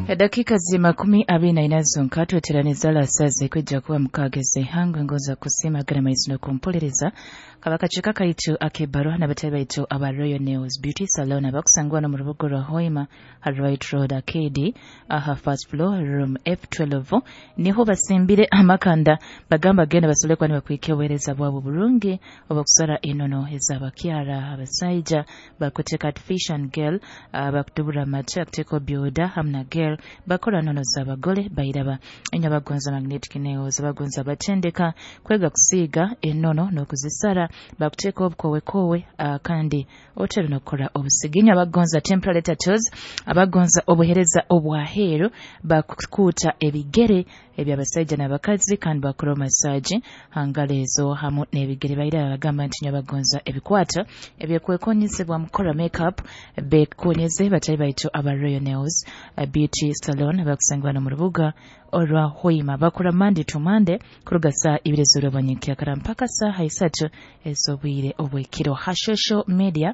Edakika zi 24 zonka tweteraniza lasaze kwijja kuba mukageze ihangwe ngoza kusiima agana maizi n'okumpuuliriza kaba kakiiko kaitu ak'ebbaruha n'abatabi baitu aba Royal Nails Beauty Salon abakusangwa no mu rubuga rwa Hoima ha Right Road Arcade aha first floor room F12 niho basimbire amakanda bagamba genda basobole kuba nibakwika obuheereza bwabo burungi obukusara enono ez'abakyara abasaija bakuteeka artificial girl, bakudubura amatu akuteeka byoda hamu na girl bakora nono z'abagole bairaba enyo abagonza magnetic nails, abagonza batendeka kwega kusiiga enono n'okuzisara bakuteeka obukowekowe, kandi otero n'okukora obusigi. Enyo abagonza temporary tattoos, abagonza obuheereza obwaheeru bakukuuta ebigere eby'abasaija n'abakazi kandi bakora massage hangalo ezo hamu n'ebigere. Bairaba bagamba nti nyo abagonza ebikwato ebyekwekonyezebwa mukora makeup bekonyeze batali baitu aba Royal Nails Beauty Salon abakusangibwa no mu rubuga orwa Hoima. Bakora Monday to Monday kuruga saa 2 z'orwabanyinkyakara mpaka saaha 3 ez'obwire obw'ekiro. Ha social media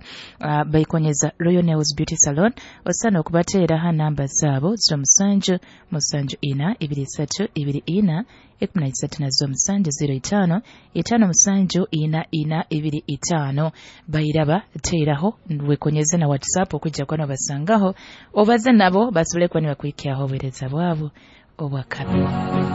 baikonyeza Royal Nails Beauty Salon, osana okubateera ha namba zaabo 07 74 23 24 13 na 07 05 57 44 25. Bairaba teeraho wekonyeze na WhatsApp okwijja kuba nobasangaho obaze nabo basobole kuba nibakwikyaho obuheereza bwabo obwakabi.